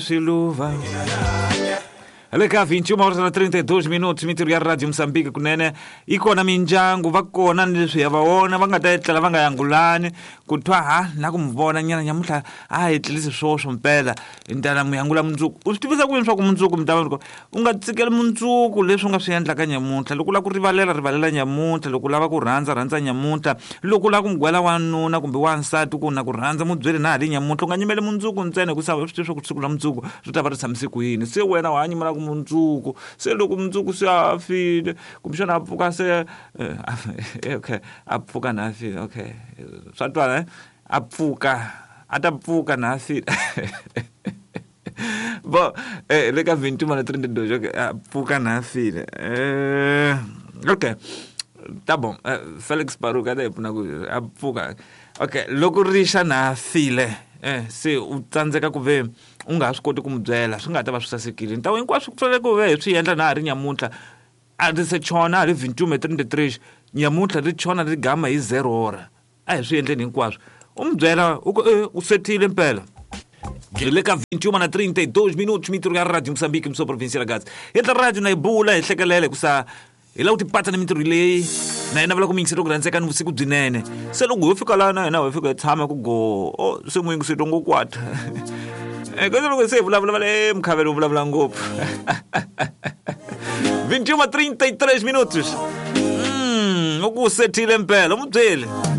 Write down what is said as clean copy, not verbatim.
Swiluva le ka 21 horas na 32 minutos mintirho ya Radio Mozambique kunene yi kona mindyangu va kona ni leswi ya va vona va nga ta etlela va nga yangulani ku twa ha na ku mi vona nyana nyamuntlha a hi tlelisi swoswo mpela ni ta na mu yangula mundzuku u swi tivisa ku yini swa ku mundzuku mi ta va u nga tsikeli mundzuku leswi u nga swi endlaka nyamuntlha loko u lava ku rivalela rivalela nyamuntlha loko u lava ku rhandza rhandza nyamuntlha loko u lava ku mugwela wanuna kumbe wansati ku na ku rhandza mu byeli na ha ri nyamuntlha u nga nyimeli mundzuku ntsena hikusa swi tivi swa ku siku ra mundzuku ri ta va ri tshamise ku yini se wena wa ha nyimelaka mundzuku se loko mundzuku se a file kumbexana a pfuka se okay a pfuka na a file okay swa twala a pfuka a ta pfuka na a file bo le ka 21 na 32 okay a pfuka na file okay tá bom Felix Baruch a ta hi pfuna ku a pfuka okay loko rixa na file se u tsandzeka ku ve u nga ha swi koti ku n'wi byela swi nga ta va swi sasekile ntawu hinkwaswo ku fanele ku ve hi swi endla na ha ri nyamuntlha a ri se chona ri 21 33 nyamuntlha ri chona ri gama hi zero hora a hi swi endleni hinkwaswo u n'wi byela u ku u setile mpela hi le ka 21 na 32 minutos mintirho ya Radio Moçambique mso província la Gaza endla radio na hi bula hi hlekelela hikusa hi lava ku tipatsa ni mintirho leyi na yena vula ku muyingiseri ku rhandzeka ni vusiku byinene se loko ho fika laha na hina ho fika hi tshama ku go o se muyingiseri ngo kwata kasi loko se hi vulavula va le mukhavelo u vulavula ngopfu 21 33 minutos u ku sethile mpela u mu byeli.